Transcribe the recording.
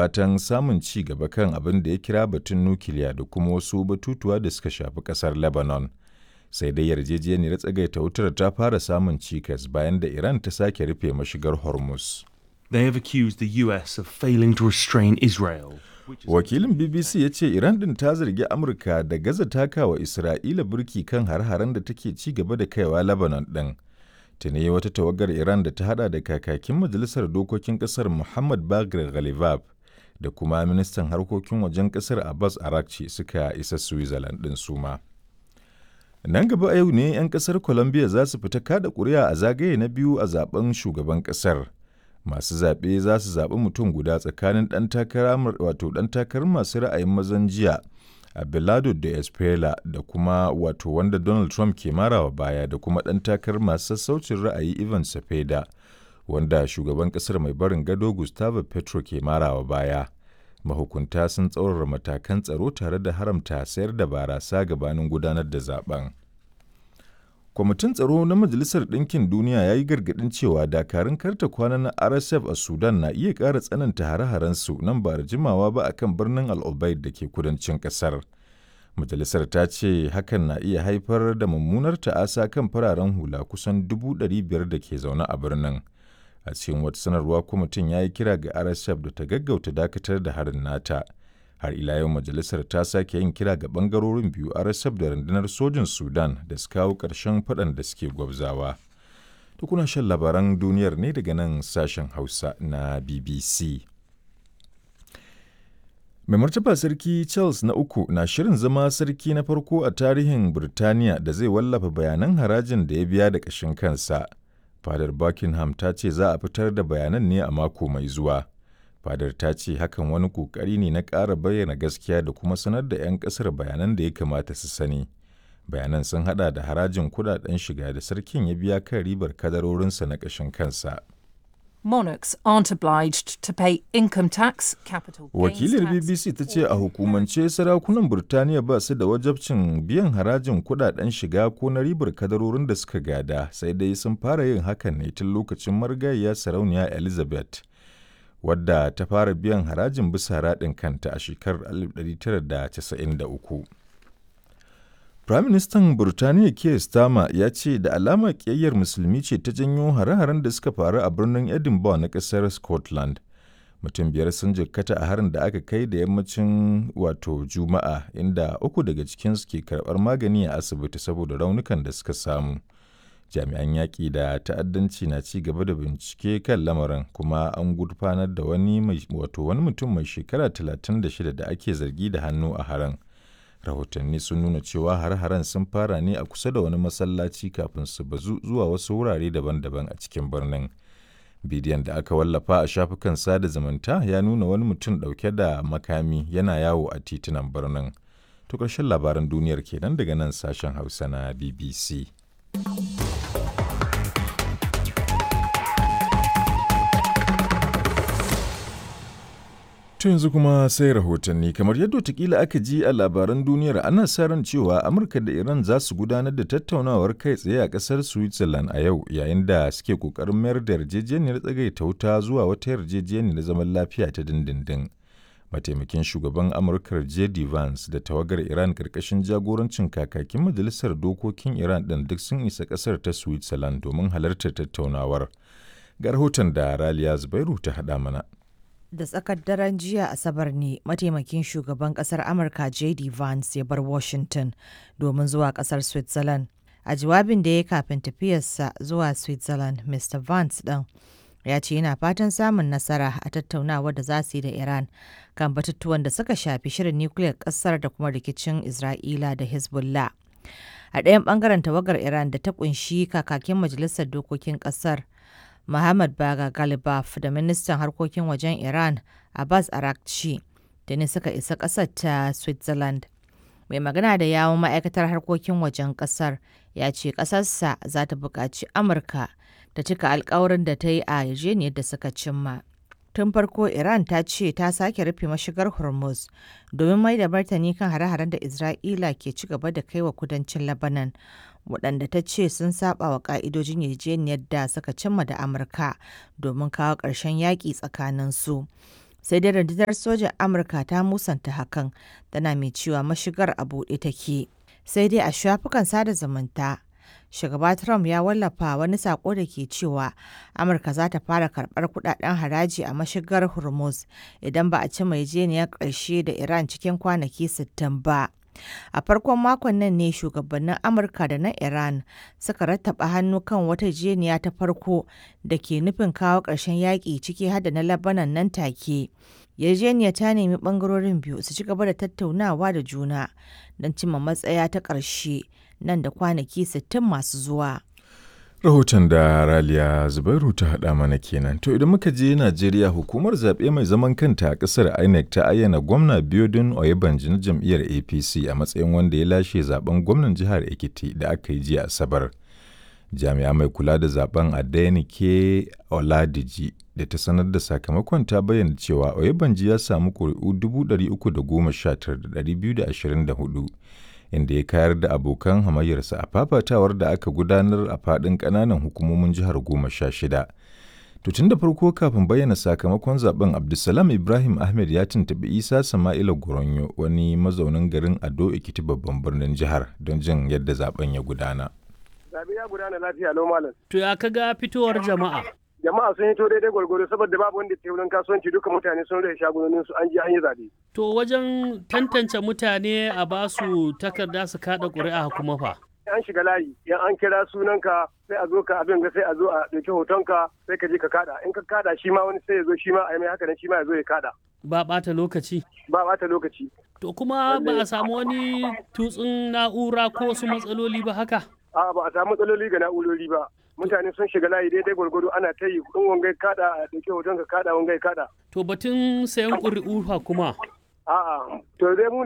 fatan samun ci gaba kan abin da ya kira batun nukiliya da kuma wasu batutuwa da suka shafi ƙasar Lebanon. Sai dai yarjejeniyar tsagaita wutar ta fara samun cikas bayan da Iran ta sake rufe mashigar Hormuz. They have accused the US of failing to restrain Israel. Wakilin BBC ya ce Iran din ta zargi Amurka da gaza takawa Isra'ila burki kan har-haren da take ci gaba da kaiwa Lebanon din. Tuni wata tawagar Iran da ta hada da kakakin Majalisar Dokokin Kasar Muhammad Bagir Ghalibaf da kuma ministan harkokin wajen kasar Abbas Arakci suka isa Switzerland din suma. Nan gaba a yau ne 'yan kasar Colombia za su fita kada kuri'a a zagaye na biyu a zaben shugaban kasar. Masu zaɓe za su zaɓi mutum guda tsakanin ɗan takara wato ɗan takarar masu ra'ayin mazan jiya Abelardo de Espela da kuma wato wanda Donald Trump ke marawa baya da kuma ɗan takarar masu sassaucin ra'ayi Ivan Cepeda wanda shugaban ƙasar mai barin gado Gustavo Petro ke marawa baya. Mahukunta sun tsaurara matakan tsaro tare da haramta sayar da barasa gabanin gudanar da zaben. Kwamitin Tsaro na Majalisar Ɗinkin Duniya ya yi gargaɗin cewa dakarun karta kwana na RSF a Sudan na iya ƙara tsananta hare-harensu nan ba da jimawa ba a kan birnin Al Obeid da ke kudancin ƙasar. Majalisar ta ce hakan na iya haifar da mummunar ta'asa kan fararen hula kusan 500,000 da ke zaune a birnin. A cikin wata sanarwa kwamitin ya yi kira ga RSF da ta gaggauta dakatar da harin nata. Har ila yau majalisar ta sake yin kira ga bangarorin biyu RSF da rundunar sojin Sudan da su kawo ƙarshen faɗan da suke gwabzawa. To kuna shan labaran duniyar ne daga nan sashen Hausa na BBC. Mai martaba Sarki Charles na uku na shirin zama sarki na farko a tarihin Birtaniya da zai wallafa bayanan harajin da ya biya da ƙashin kansa. Fadar Buckingham ta ce za a fitar da bayanan ne a mako mai zuwa. Fadar ta ce hakan wani ƙoƙari ne na ƙara bayyana gaskiya da kuma sanar da 'yan ƙasar bayanan da ya kamata su sani. Bayanan sun hada da harajin kudaden shiga da sarkin ya biya kan ribar kadarorinsa na ƙashin kansa. Monarchs aren't obliged to pay income tax, capital gains Wakilar tax, BBC ta ce a hukumance sarakunan Burtaniya ba su da wajabcin biyan harajin kudaden shiga ko na ribar kadarorin da suka gada, sai dai sun fara yin hakan ne tun lokacin marigayiya sarauniya Elizabeth, wadda ta fara biyan harajin bisa raɗin kanta a shekarar 1993. Firaministan Burtaniya Keir Starmer ya ce da alama ƙiyayyar musulmi ce ta janyo hare-haren da suka faru a birnin Edinburgh na ƙasar Scotland. Mutum biyar sun jikkata a harin da aka kai da yammacin wato Juma'a, inda uku daga cikinsu ke karɓar magani a asibiti saboda raunukan da suka samu. Jami'an yaƙi da ta'addanci na ci gaba da bincike kan lamarin kuma an gurfanar da wani mai wato wani mutum mai shekara 36 da ake zargi da hannu a harin. Rahotanni sun nuna cewa har-haren sun fara ne a kusa da wani masallaci kafin su bazu zuwa wasu wurare daban-daban a cikin birnin. Bidiyon da aka wallafa a shafukan sada zumunta ya nuna wani mutum ɗauke da makami yana yawo a titunan birnin. To ƙarshen labaran duniyar kenan daga nan sashen Hausa na BBC. To yanzu kuma sai rahotanni kamar yadda watakila aka ji a labaran duniyar ana sa ran cewa Amurka da Iran za su gudanar da tattaunawar kai tsaye a ƙasar Switzerland a yau yayin da suke ƙoƙarin mayar da yarjejeniyar tsagaita wuta zuwa wata yarjejeniyar zaman lafiya ta dindindin. Mataimakin shugaban Amurkar J.D. Vance da tawagar Iran ƙarƙashin jagorancin kakakin majalisar dokokin Iran ɗin duk sun isa ƙasar ta Switzerland domin halartar tattaunawar. Ga rahoton da Raliya Zubairu ta haɗa mana. Da tsakar daren jiya Asabar ne mataimakin shugaban kasar Amurka JD Vance ya bar Washington domin zuwa kasar Switzerland. A jawabin da ya kafin tafiyarsa zuwa Switzerland, Mr. Vance ɗin ya ce yana fatan samun nasara a tattaunawar da za su yi da Iran kan batutuwan da suka shafi shirin nukiliyar kasar da kuma rikicin Isra'ila da Hezbollah. A ɗayan ɓangaren tawagar Iran da ta ƙunshi kakakin majalisar dokokin ƙasar Muhammad Baga Galibaf da ministan harkokin wajen Iran Abbas Arakci da ne suka isa ƙasar ta Switzerland. Mai magana da yawon ma'aikatar harkokin wajen ƙasar ya ce ƙasarsa za ta buƙaci Amurka ta cika alkawarin da ta yi a yarjejeniyar da suka cimma. Tun farko Iran ta ce ta sake rufe mashigar Hormuz domin mai da martani kan hare-haren da Isra'ila ke ci gaba da kai wa kudancin Lebanon, waɗanda ta ce sun saba wa ƙa'idojin yarjejeniyar da suka cimma da Amurka domin kawo ƙarshen yaƙi tsakanin su. Sai dai rundunar sojan Amurka ta musanta hakan, tana mai cewa mashigar a buɗe take. Sai dai a shafukan sada zumunta, Shugaba Trump ya wallafa wani sako da ke cewa Amurka za ta fara karɓar kudaden haraji a mashigar Hormuz idan ba a ci yarjejeniyar ƙarshe da Iran cikin kwanaki 60 ba. A farkon makon nan ne shugabannin Amurka da na Iran suka rattaba hannu kan wata yarjejeniya ta farko da ke nufin kawo ƙarshen yaƙi ciki har da na Lebanon nan take. Yarjejeniyar ta nemi ɓangarorin biyu su ci gaba da tattaunawa da juna don cimma matsaya ta ƙarshe nan da kwanaki 60 masu zuwa. Rahoton da Raliya Zubairu ta haɗa mana kenan. To idan muka je Najeriya, hukumar zaɓe mai zaman kanta a ƙasar INEC ta ayyana gwamna Biodun Oyebanji na jam'iyyar APC a matsayin wanda ya lashe zaben gwamnan jihar Ekiti da aka yi jiya Asabar. Jami'a mai kula da zaben Adenike Oladiji da ta sanar da sakamakon ta bayyana cewa Oyebanji ya samu ƙuri'u 319,224, inda ya kayar da abokan hamayyarsa a fafatawar da aka gudanar a faɗin ƙananan hukumomin jihar 16. To tun da farko kafin bayyana sakamakon zaben, Abdulsalam Ibrahim Ahmed ya tuntuɓi Isa Sama'ila Goronyo, wani mazaunin garin Ado Ekiti, babban birnin jihar, don jin yadda zaben ya gudana. Zabe ya gudana lafiya lau, malam. To ya kaga fitowar jama'a? Jama'a sun hito daidai gwargwaro saboda babu wanda ke wurin kasuwanci, duka mutane sun rufe shagunonin su, an je an yi zabe. To wajen tantance mutane a basu takarda su kada ƙuri'a kuma fa? An shiga layi, yan an kira sunanka sai a zo ka abin ga, sai a zo a ɗauki hotonka, sai ka je ka kada. In ka kada, shi ma wani sai ya zo, shi ma a yi mai haka nan, shi ma ya zo ya kada. Ba ɓata lokaci. Ba ɓata lokaci. To kuma ba a samu wani tutsun na'ura ko wasu matsaloli ba haka? A'a, ba a samu matsaloli ga na'urori ba. Mutane sun shiga layi daidai gwargwado, ana ta yi, in wangai kada a ɗauki hoton ka kada, wangai kada. To batun sayan ƙuri'u fa kuma? A'a, to dai mu